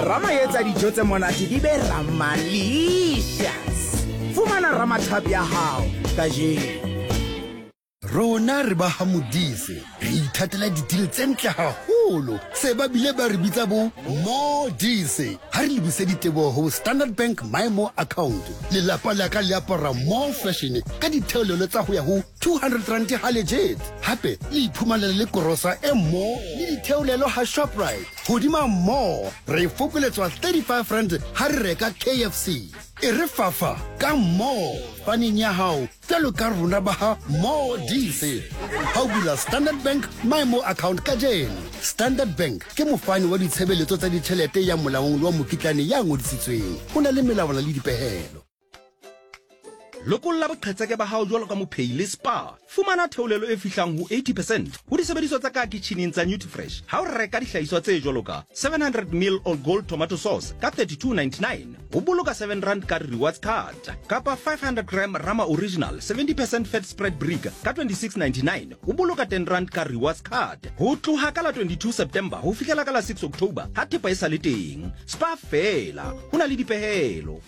Rama e etsa dijo tse monate di be ramalicious. Fumana Rama tub ya hao kajeno. Rona re ba ha Modise, re ithatela di-deal tse ntle haholo. Se ba bile ba re bitsa bo Modise. Ha re lebise diteboho ho Standard Bank My More account. Lelapa la ka le apara more fashion ka ditheolelo tsa ho ya ho 200 rand ha legit. Hape le iphumanela le korosa e more le ditheolelo ha Shoprite. Hodima more, re fokoletswa 35 rand ha re reka KFC. E re fafa ka more faneng ya hao Bjalo ka rona ba ha Modise. Ha o bula Standard Bank MyMo account kajeno. Standard Bank ke mofani wa ditshebeletso tsa ditjhelete ya molaong le wa mokitlane ya ngodisitsweng. Ho na le melawana le dipehelo. Lokolla boqhetseke ba hao jwalo ka mophehi le Spar. Fumana theolelo e fihlang ho 80 percent ho disebediswa tsa ka kitjhining tsa Nutrifresh ha o reka dihlahiswa tse jwalo ka 700 ml All Gold Tomato Sauce ka 32.99, Ho boloka 7 rand ka rewards card kapa 500 gram Rama Original 70 percent fat spread brick ka 26.99 ho boloka 10 rand ka rewards card. Ho tloha ka la 22 September ho fihlela ka la 6 October ha thepa e sa le teng. Spar feela, ho na le dipehelo.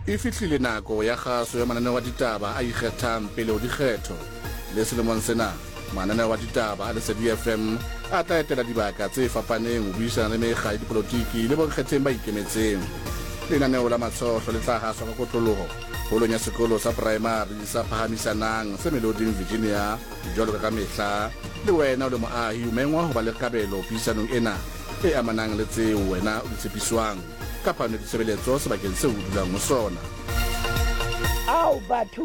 E fihlile nako ya kgaso ya mananeo a ditaba a ikgethang pele ho dikgetho. Le selemong sena, mananeo a ditaba a Lesedi FM a tla etela dibaka tse fapaneng ho buisana le mekga ya dipolotiki le bonkgetheng ba ikemetseng. Lenaneo la Matshohlo le tla haswa ka kotloloho holong ya sekolo sa poraemari sa Phahamisanang se Meloding, Virginia. Jwalo ka ka mehla, le wena o le moahi o mengwa ho ba le kabelo puisanong ena e amanang le tseo wena o di tshepiswang. ka phano ya ditshebeletso sebakeng seo o dulang ho sona. Ao batho,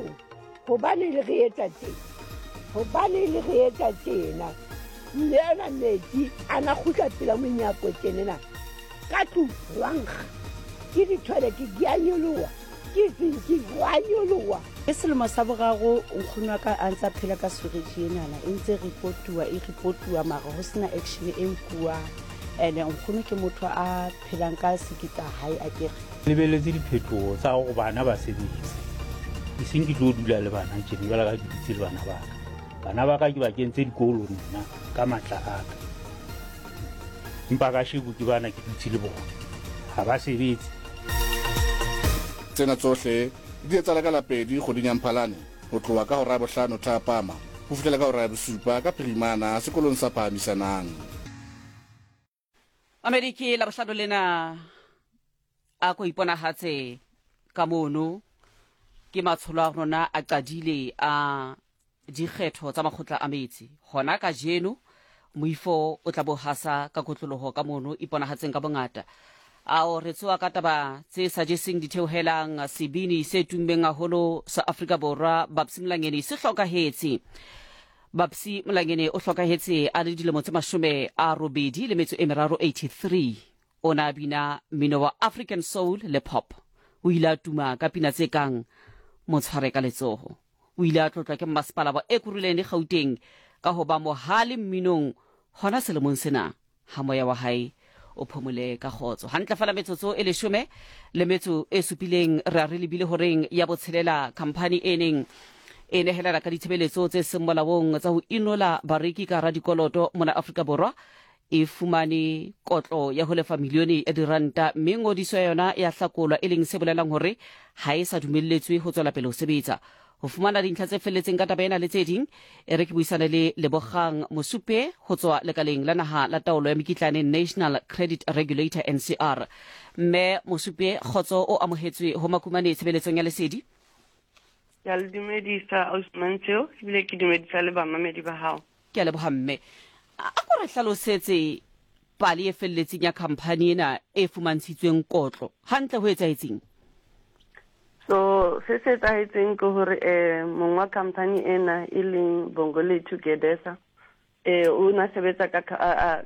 hobane le re etsa tjena, hobane le re etsa tjena, mme ana metsi a na kgutla pela monyako tjenena, ka tlung hwa nkga, ke di-toilet di a nyoloha, ke zinki hwa nyoloha. Ke selemo sa boraro nkgono wa ka a ntsa phela ka swereji enana e ntse reportuwa e reportuwa mara ho sena action e nkuwang ene nkgono ke motho a phelang ka siki tsa hae a kere. Lebeletse diphetoho tsa hore bana ba sebetse, eseng ke tlo dula le bana tjena jwalo ka ke dutse le bana ba ka. Bana ba ka ke ba kentse dikolo nna ka matla a ka, empa kasheko ke bana ke dutse le bona ha ba sebetse. Tsena tsohle di etsahala ka Lapedi kgweding ya Mphalane ho tloha ka hora ya bohlano thapama ho fihlela ka hora ya bosupa ka phirimana sekolong sa Phahamisanang. Mamedi ke labohlano lena a ko iponahatse ka mono ke matsholo a rona a qadile a dikgetho tsa makgotla a metsi hona ka jeno moifo o tla bo hasa ka kotloloho ka mono iponahatseng ka bongata ao re tsoa ka taba tse sa jeseng ditheohelang sebini se tummeng haholo sa Afrika Borwa Babsy Mlangeni se hlokahetse Babsy Mlangeni o hlokahetse a le dilemo tse 83, 83. O ne a bina mmino wa African soul le pop. O ile a tuma ka pina tse kang Mo tshware ka letsoho. O ile a tlotlwa ke mmasepala wa Ekurhuleni Gauteng ka ho ba mohale mminong hona selemong sena. Ha moya wa hae o phomole ka kgotso. Hantle fela metsotso e leshome le metso e supileng re a re lebile horeng ya botshelela khamphani e neng e nehelana ka ditshebeletso tse seng molaong tsa ho inola bareki ka hara dikoloto mona Afrika Borwa e fumane kotlo ya ho lefa milione ya diranta mme ngodiso ya yona ya hlakolwa e leng se bolelang hore ha e sa dumelletswe ho tswela pele ho sebetsa. Ho fumana dintlha tse felletseng ka taba ena le tse ding, e re ke buisane le Lebogang Mosupe ho tswa lekaleng la naha la taolo ya mekitlane National Credit Regulator, NCR. Mme Mosupe, kgotso o amohetswe ho Makumane tshebeletsong ya Lesedi. Ke a le dumedisa Ausi Mantsheo ebile ke dumedisa le bamamedi ba hao. Ke a leboha mme. A ko re hlalosetse pale e felletseng ya khamphani ena e fumantshitsweng kotlo. Hantle ho etsahetseng? So se se etsahetseng ke hore eh mong wa khamphani ena e leng Bongolethu Gedesa eh o na sebetsa ka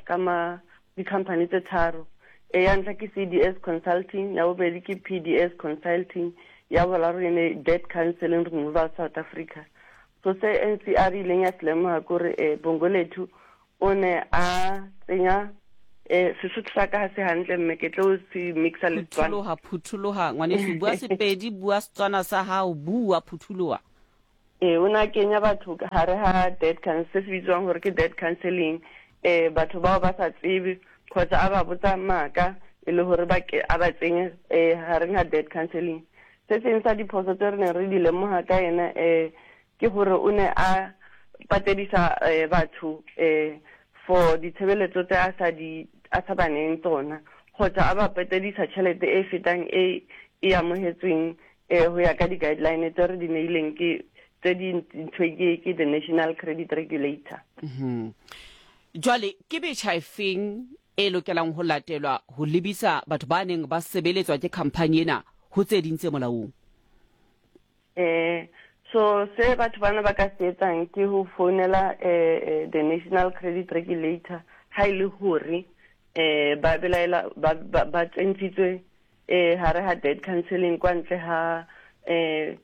ka ma di-company tse tharo. E ya ntlha ke CDS Consulting, ya bobedi ke PDS Consulting, ya boraro e ne Debt Counseling Removal South Africa. So se NCR e ileng ya se lemoga kore eh, Bongolethu o ne a tsenya eh, Sesotho sa ka ga se hantle mme ke tlo se mixa le Setswana. Phuthologa, phuthologa ngwaneso, bua Sepedi, bua Setswana sa gago, bua, phuthologa. Ee, o ne a kenya batho ka gare ga debt counsel, se se bitswang gore ke debt counseling. um batho bao ba sa tsebe kgotsa a ba botsa maaka e le gore ba ke a ba tsenye um gareng ga debt counseling. Se seng sa diphoso tse re neng re di lemoga ka ena um ke gore o ne a patedisa um batho um for ditshebeletso tse a sa di a sa ba neyeng tsona kgotsa a ba patedisa tšhelete e fetang e e amogetsweng um go ya ka di-guideline tse re di neileng ke tse di ntshwe ke ke the National Credit Regulator. Jwale ke metjha efeng e lokelang ho latelwa ho lebisa batho ba neng ba sebeletswa ke khamphani ena ho tse ding tse molaong? Eh, so se batho bana ba ka se etsang ke ho founela eh, the National Credit Regulator ha e le hore eh ba belaela ba ba, ba tsentshitswe eh hare ha debt counseling kwa ntle ha eh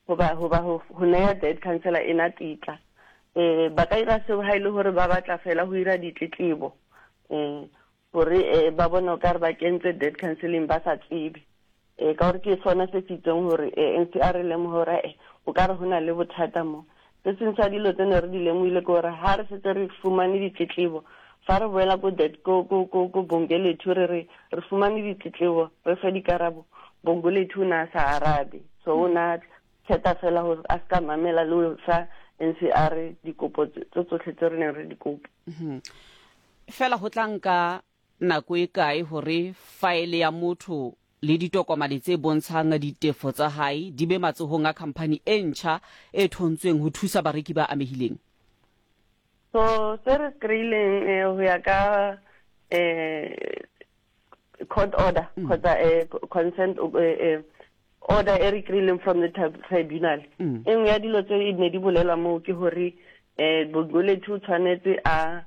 hoba hoba ho ho neya debt counselor ena titla. Eh ba ka ira seo ha e le hore ba batla fela ho ira ditletlebo eh hore eh ba bone o ka re ba kentswe debt counseling ba sa tsebe. Eh ka gore ke sona se se itseng hore eh NCR e lemohe hore eh o ka re ho na le bothata mo. Se seng sa dilo tse ne re di lemohile ke hore ha re setse re fumane ditletlebo, fa re boela ko debt ko ko ko ko Bongolethu re re re fumane ditletlebo re fe dikarabo, Bongolethu o ne a sa arabe. So o ne a kgetha fela gore a se ka mamela le ho fa NCR dikopo tse tsotlhe tse re neng re di kopa. Fela ho tla nka nako e kae hore faele ya motho le ditokomane tse bontshang ditefo tsa hae di be matsohong a khamphani e ntjha e thontsweng ho thusa bareki ba amehileng? So se re se kry-ileng eh, ho ya ka eh, court order kgotsa eh, consent eh, eh, order e re kry-ileng from the tribunal. E nngwe ya dilo tse e ne di bolelwa moo ke gore um Bongolethu o tshwanetse a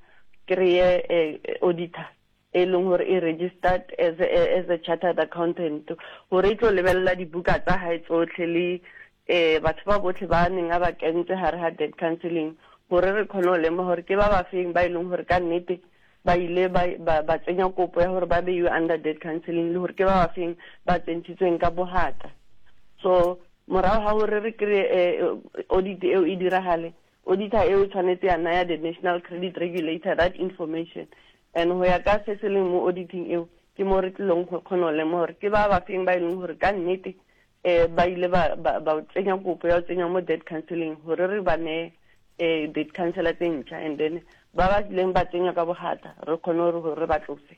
kry-e eh, auditor e leng gore e registered as a, as a chartered accountant gore e tlo lebelela dibuka tsa gae tsotlhe le um batho ba botlhe ba neng a ba kentse gare ga debt counseling gore re kgone go lemoga gore ke ba ba feng ba e leng gore ka nnete ba ile ba, ba, ba tsenya kopo ya gore ba beiwe under debt counseling le gore ke ba ba feng ba tsentshitsweng ka bogata. So morago ga gore re kry-e eh, audit eo e diragale, auditor eo e tshwanetse ya naya the National Credit Regulator that information, and go ya ka se se leng mo auditing eo ke mo re tlilong go kgona go lemoga gore ke ba ba feng ba e leng gore ka nnete um ba ile ba, ba, ba tsenya kopo ya go tsenya mo debt counseling gore re ba neye um debt counselor tse ntšha, and then ba ba kileng ba tsenya ka bogata re kgone gore re ba tlose.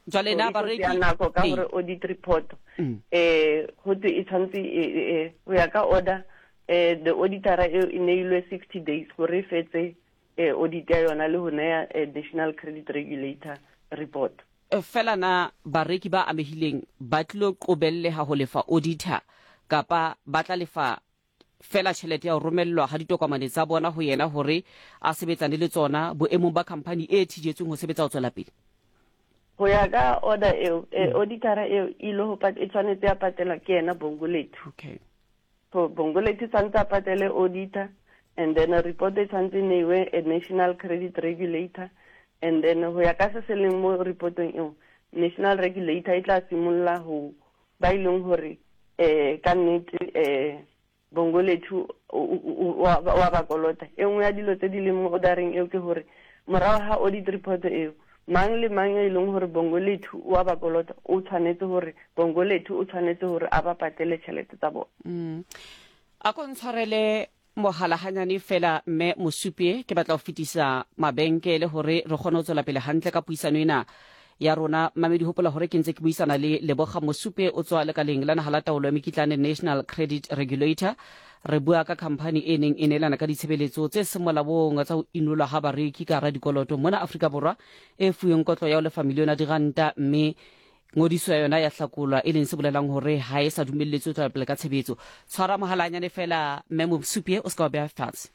Jwale na bareki nako ka gore audit report eh go twe e tshwanetse go ya ka order eh the auditor eo e neilwe 60 days gore e fetse eh audit ya yona le go neya National Credit Regulator report. Fela na bareki ba amehileng ba tlilo qobelleha ho lefa auditor kapa ba tla lefa feela tjhelete ya ho romellwa ha ditokomane tsa bona ho yena hore a sebetsane le tsona boemong ba khamphani e thijetsweng ho sebetsa ho tswela pele? Ho ya ka order eo, auditor eo e ile ho e tshwanetse ya patelwa ke yena Bongolethu. Okay. So Bongolethu tshwanetse a patele auditor, and then report e tshwanetse e neiwe a National Credit Regulator, and then ho ya ka se se leng mo reportong eo, National Regulator e tla simolola ho ba e leng hore um ka nnete um Bongolethu wa ba kolota. E nngwe ya dilo tse di leng mo ordereng eo ke hore morago ga audit report eo, mang le mang e leng hore Bongolethu wa ba kolota o tshwanetse hore Bongolethu o tshwanetse hore a ba patele tšhelete tsa bona. A ko ntshwarele Mohala hanyane feela, Mme Mosupye, ke batla ho fetisa mabenkele hore re kgone ho tswela pele hantle ka puisano ena ya rona. Mamedi, hopola hore ke ntse ke buisana le Leboga Mosupye, o tswa lekaleng la naha la taolo ya mekitlane, National Credit Regulator. Re bua ka khamphani e neng e neelana ka ditshebeletso tse seng molaong tsa ho inolwa ha bareki ka hara dikoloto mona Afrika Borwa, e fuweng kotlo ya ho lefa milione ya diranta mme Ngodiso ya yona ya hlakolwa, e leng se bolelang hore ha e sa dumelletswe ho tswela pele ka tshebetso. Tshwara mohala hanyane feela, Mme Mosupye, o se ka wa beha fatshe.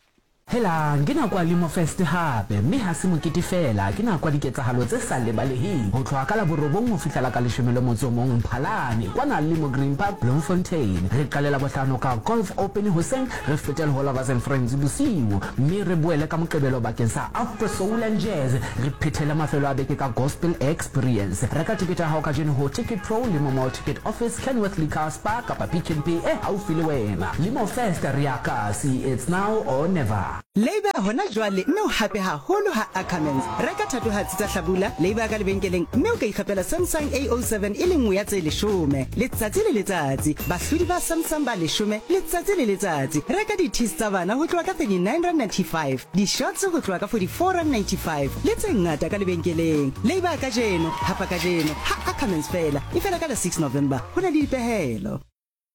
Helang, ke nako ya Limo Fest hape, mme ha se mokete feela, ke nako ya diketsahalo tse sa lebaleheng. Ho tloha ka la borobong ho fihla la ka leshome le motso o mong Mphalane, kwana Limo Green Park, Bloemfontein. Re qale Labohlano ka Golf Open hoseng, re fete le ho Lovers and Friends bosiu, mme re boele ka Moqebelo bakeng sa Afro Soul and Jazz. Re phethele mafelo a beke ka Gospel Experience. Reka tekete ya hao kajeno ho Ticket Pro, Limo Mall Ticket Office, Kenworth Liquor, Spar kapa Pick n Pay e haufi le wena. Limo Fest, re ya kasi, it's now or never. Labour hona jwale mme o hape haholo ha Ackermans. Reka thatohatsi tsa hlabula Labour ka lebenkeleng mme o ka ikgapela Samsung A07 e le nngwe ya tse leshome letsatsi le letsatsi. Bahlodi ba Samsung ba leshome letsatsi le letsatsi. Reka di-tees tsa bana ho tloha ka R39.95, di-shorts ho tloha ka R44.95 le tse ngata ka lebenkeleng. Labour kajeno, hapa kajeno ha Ackermans feela. E fela ka la 6 November. Ho na le dipehelo.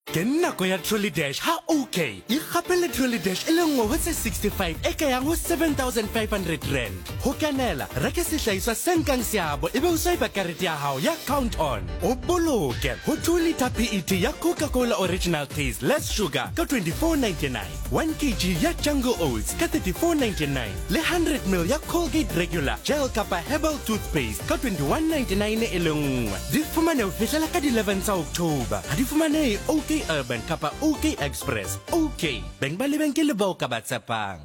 Ke nako ya Trolley Dash ha OK. Ikgapele Trolley Dash e le nngwe ho tse 65 e ka yang ho R7500. Ho kenela, reka sehlahiswa se nkang seabo ebe o swipe karete ya hao ya Count On. O boloke ho 2 litre PET ya Coca-Cola Original Taste Less Sugar ka 24.99, 1 kg ya Jungle Oats ka 34.99 le 100 ml ya Colgate Regular Gel kapa Herbal Toothpaste ka 21.99 e le nngwe. Di fumane ho fihlela ka di 11 tsa October. Ha di fumanehe OK Urban kapa OK Express. OK, beng ba lebenkele bao ka ba tshepang.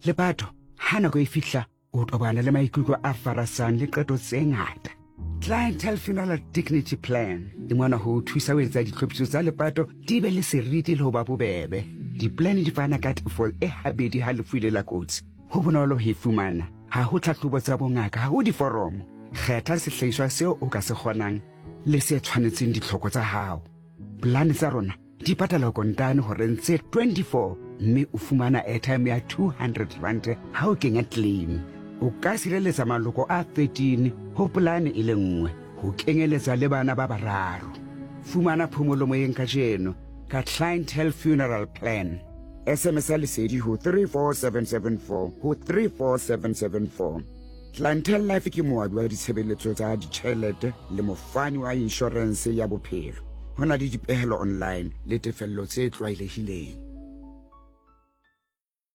Lepato, ha nako e fihla, o tobana le maikutlo a farasang le qeto tse ngata. Clientele Funeral Dignity Plan e mona ho o thusa ho etsa ditlhophiso tsa lepato di be le seriti le ho ba bobebe. Di-plan di fana ka tefo e habedi ha lefu e le la kotsi. Ho bonolo ho e fumana. Ha ho tlhahlobo tsa bongaka, ha ho diforomo. Kgetha sehlahiswa seo o ka se kgonang le se tshwanetseng ditlhoko tsa hao. Polane tsa rona di patala kontane horeng tse 24 mme o fumana airtime ya R200 ha o kenya claim. O ka sireletsa maloko a 13 ho polane e le nngwe, ho kenyeletsa le bana ba bararo. Fumana phomolo moyeng kajeno ka Clientele Funeral Plan. SMS-a Lesedi ho 34774 ho 34774. Clientele Life ke moabi wa ditshebeletso tsa ditjhelete le mofani wa inshorense ya bophelo. Ho na le dipehelo online le tefello tse tlwaelehileng.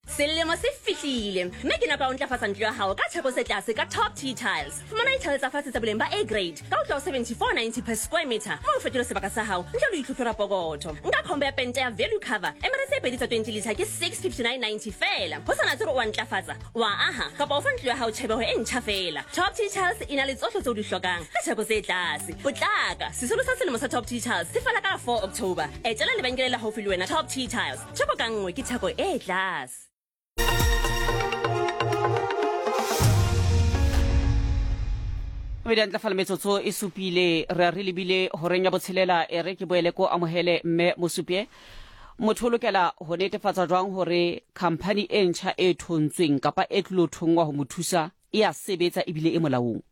Selemo se fihlile mme ke nako ya ho ntlafatsa ntlo ya hao ka theko tse tlase ka Top T Tiles. Fumana dithale tsa fatshe tsa boleng ba A grade ka ho tloha ho 74.90 per square meter mme o fetole sebaka sa hao ntle le ho itlhohlora pokotho. Nka combo ya pente ya value cover emere tse pedi tsa 20 litre ke 659.90 feela. Ho sa natse hore o a ntlafatsa, o a aha kapa o fa ntlo ya hao tjhebeho e ntjha feela. Top T Tiles e na le tsohle tseo o di hlokang ka theko tse tlase. Potlaka! Sesolo sa selemo sa Top T Tiles se fela ka la 4 October. Etela lebenkele le haufi le wena Top T Tiles. Theko ka nngwe ke theko e tlase. Mme di ntlafala metsotso e supile re a re lebile horeng ya botshelela e re ke boele ko amohele mme Mosupye. Motho o lokela ho netefatsa jwang hore khamphani e ntjha e thontsweng kapa e tlilo thongwa ho mo thusa e a sebetsa ebile e molaong?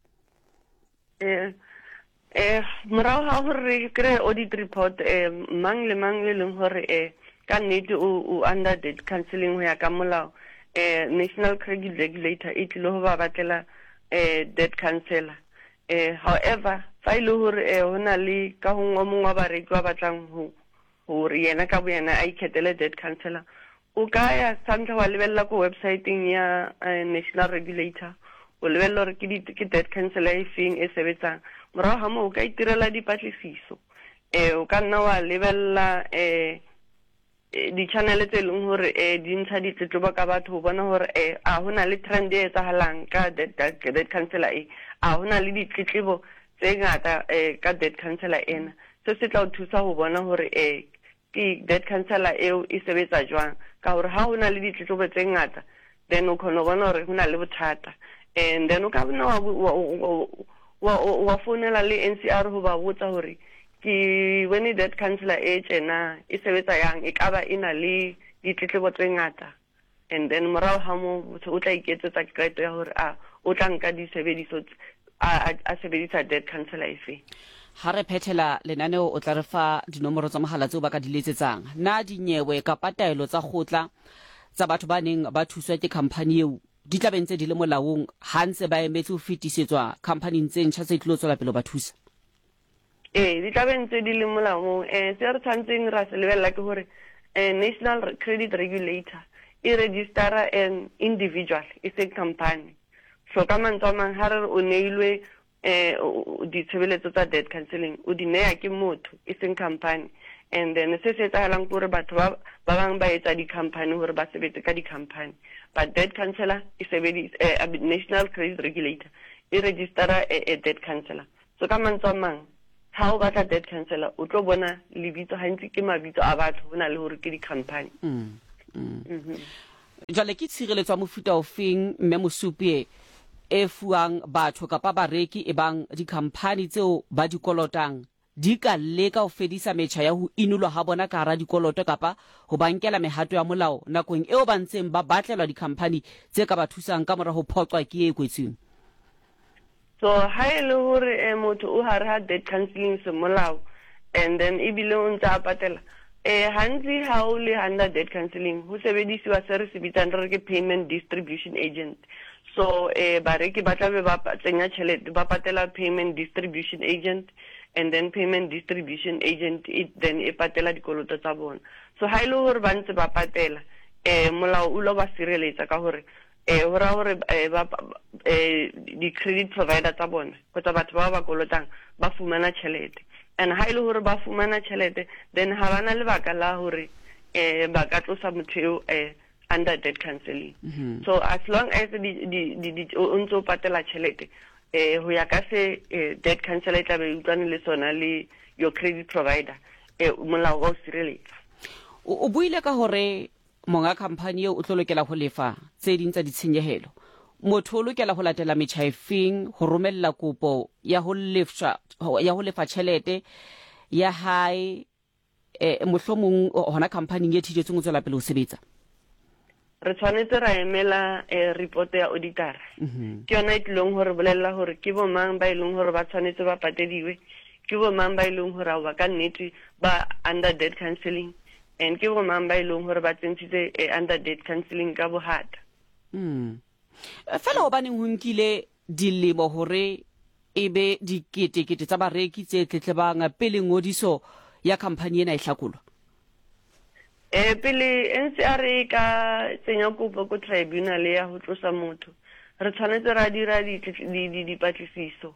Eh, eh, morago ga gore re kry-e audit report eh, mang le mang e leng gore eh, ka nnete o, o under debt counseling go ya ka molao eh, national credit regulator e tlile go ba batlela eh, debt counselor eh, however fa e le gore eh, go na le ka gongwe o mongwe wa bareki ba batlang go gore yena ka boyena a ikgethele debt counselor, o ka ya sa ntlha wa lebelela ko websiteng ya eh, national regulator, o lebelela gore ke, ke debt counselor e feng e sebetsang. Morago ga moo o ka itirela dipatlisiso, um o ka nna wa lebelela um di-channel tse e leng gore um di ntsha ditletlebo ka batho go bona gore um a go na le trend e etsagalang ka debt counselor e, a go na le ditletlebo tse ngata um ka debt counselor ena. Se se tla o thusa ho bona hore e ke debt counselor eo e sebetsa jwang, ka hore ha ho na le ditletlebo tse ngata then o khona ho bona hore ho na le bothata. And then o ka nna wa wa wa wa founela le NCR ho ba botsa hore ke bone debt counselor e tjena e sebetsa yang, e ka ba e na le ditletlebo tse ngata. And then morago ga moo motho o tla iketsetsa qeto ya gore a o tla nka disebediso a, a sebedisa debt counselor efe. Ha re phethela lenaneo o tla re fa dinomoro tsa mohala tseo ba ka di letsetsang. Na dinyewe kapa taelo tsa kgotla tsa batho ba neng ba thuswa ke khamphani eo di tla be ntse di le molaong ha ntse ba emetse ho fetisetswa khamphaning tse ntjha tse tlilo tswela pele ho ba thusa? Ee, di tla be ntse di le molaong. Um se re tshwanetseng ra se lebelela ke gore um National Credit Regulator e registera an individual, e seng company. So ka mantswe a mang, ha re re o neilwe um ditshebeletso tsa debt counseling, o di neya ke motho, e seng company. And then se se etsahalang ke gore batho ba ba bang ba etsa di-company gore ba sebetse ka di-company, but debt counselor e sebedisa eh, National Credit Regulator e registera a, a debt counselor. So ka mantswe a mang, ha o batla debt counselor o tlo bona lebitso gantsi ke mabitso a batho go na le gore ke di-company. Jwale ke tshireletso ya mofuta ofeng Mme Mosupye e fuwang batho kapa bareki ebang dikhamphani tseo ba di kolotang di ka leka ho fedisa metjha ya ho inolwa ha bona ka hara dikoloto kapa ho ba nkela mehato ya molao nakong eo ba ntseng ba batlelwa dikhamphani tse ka ba thusang ka mora ho phoqwa ke e kwetsweng? So ha e le hore eh, motho o hare ha debt counseling semolao and then ebile o ntse a patela eh gantsi ha o le under debt counseling ho sebedisiwa se re se bitsang re re ke payment distribution agent. So eh bareki ba tlabe ba tsenya tšhelete ba patela payment distribution agent and then payment distribution agent e then e patela dikoloto tsa bona. So ha e le hore ba ntse ba patela eh molao o lo ba sireletsa ka hore eh ho raya hore eh, ba eh, di-credit provider tsa bona kgotsa batho ba ba kolotang ba fumana tšhelete and ha e le hore ba fumana tšhelete then ha ba na lebaka la hore eh ba ka tlosa motho eo eh under debt counseling. So as long as di di di, di o ntse o patela tšhelete eh ho ya ka se eh, debt counselor e tla be e utlwane le sona le your credit provider eh molao wa o sireletsa. O buile ka hore Monga khamphani eo o tlo lokela ho lefa tse ding tsa ditshenyehelo. Motho o lokela ho latela metjha efeng ho romella kopo ya ho lefshwa ya ho lefa tjhelete ya hae eh, mohlomong hona khamphaning e thijetsweng ho tswela pele ho sebetsa? Re tshwanetse ra emela eh, report ya auditor. Ke yona e tlilong ho re bolella hore ke bo mang ba e leng hore ba tshwanetse ba patediwe, ke bo mang ba e leng hore aowa ka nnete ba under debt counseling And ke bo mang ba e leng gore ba tsentshitse eh, under debt counseling ka bohata. Fela hobaneng ho nkile dilemo hore e be diketekete tsa bareki tse tletlebang pele ngodiso ya khamphani ena e hlakolwa? Eh, pele NCR e ka tsenya kopo ko tribunal ya go tlosa motho, re tshwanetse ra dira dipatlisiso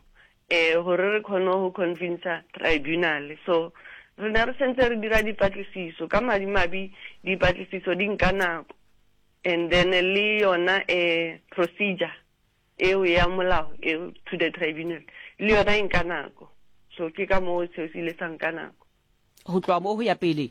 eh gore re kgone go convincer tribunal. So re ne re sentse re dira dipatlisiso, ka madimabe dipatlisiso di nka nako, and then le yona eh procedure eo ya molao eo to the tribunal le yona e nka nako, so ke ka moo seo se ile sa nka nako. Ho tloha moo ho ya pele,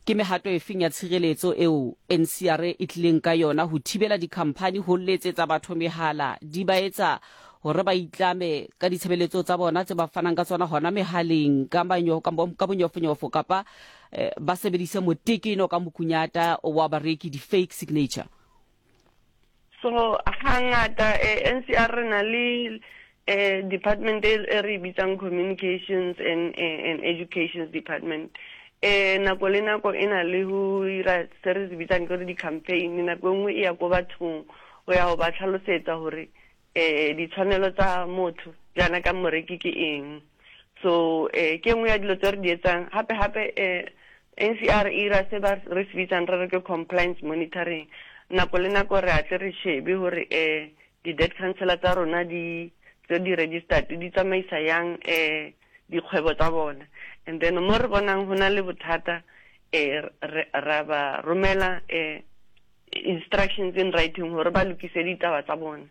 ke mehato efeng ya tshireletso eo NCR e tlileng ka yona ho thibela dikhamphani ho letsetsa batho mehala di ba etsa hore ba itlame ka ditshebeletso tsa bona tse ba fanang ka tsona hona mehaleng ka ka bonyofonyofo kapa ba sebedise motekeno ka mokunyata wa bareki, di-fake signature? So hangata eh, NCR re na le eh, department e e re e bitsang communications and, eh, and educations department. Eh, nako le nako e na le ho ira se re se bitsang ke gore di-campaign. Nako e nngwe e ya ko bathong go ya go ba tlhalosetsa gore eh ditshwanelo tsa motho jaana ka moreki ke eng. So eh ke nngwe ya dilo tse re di etsang. Gape gape eh NCR e ira se ba re se bitsang re re ke compliance monitoring. Nako le nako re a tle re shebe gore eh di-debt counselor tsa rona di tse di registered di tsamaisa yang eh dikgwebo tsa bona, and then mo re bonang go na le bothata eh ra ba romela eh instructions in writing gore ba lokise ditaba tsa bona.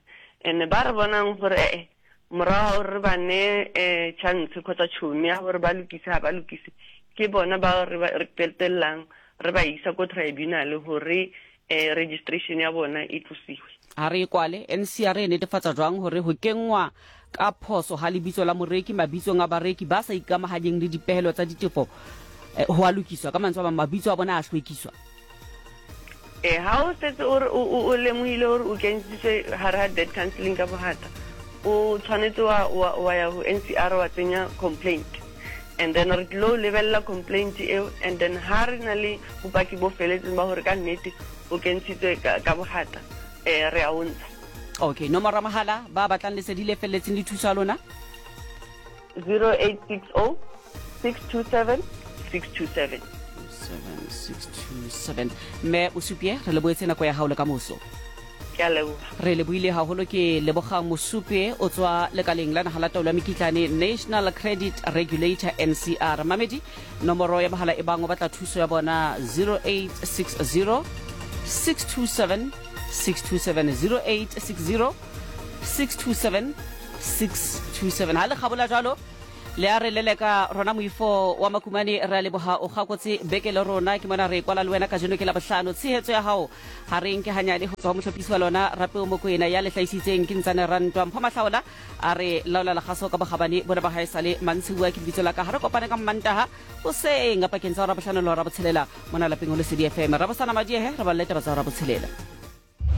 And ba re bonang gore ee morago gore re ba neye um chance kgotsa tšhono ya gore ba lokise, ga ba lokise, ke bona ba re qetellang re ba isa ko tribunal gore um registration ya bona e tlosiwe. Ha re e kwale, NCR e netefatsa jwang hore ho kenngwa ka phoso ha lebitso la moreki mabitsong a bareki ba sa ikamahanyeng le dipehelo tsa ditefo ho a lokiswa? Ka mantswe a mang, mabitso a bona a hlwekiswa? E, ha o setse o re o lemohile hore o kentshitswe hare ha debt counseling ka bohata, o tshwanetse wa, wa, wa ya ho NCR wa tsenya complaint. And then re tlilo lebella complaint eo, and then ha re na le bopaki bo feletseng ba hore ka nnete o kentshitswe ka, ka bohata, eh, re a o ntsha. Okay, nomoro ya mohala ba batlang lesedi le felletseng le thuso ya lona? 0860 627 627. 7627. Mme Mosupye, re lebohetse nako ya hao le ka moso. Ke a leboha. Re lebohile haholo. Ke Lebogang Mosupye, o tswa lekaleng la naha la taolo ya mekitlane, National Credit Regulator, NCR. Mamedi, nomoro ya mohala e bang o batla thuso ya bona, 0860 627 627, 0860 627 627. Ha le kgabola jwalo. Le a re leleka rona moifo wa Makumane, re a leboha o kgakotse beke le rona. Ke mona re kwala le wena kajeno ke Labohlano. Tshehetso ya hao ha re nke hanyane ho tswa ho mohlophisi wa lona Rapeo Mokoena ya le hlahisitseng ke Ntsane Rantwa. Mpho Mahlaola a re laola lekgaso ka bokgabane bona ba hae sale mantsibuwa ke lebitso la ka. Ha re kopane ka Mmantaha hoseng pakeng tsa hora bohlano le hora botshelela mona lapeng ho Lesedi FM. Rabosana Madiehe re balle taba tsa hora botshelela.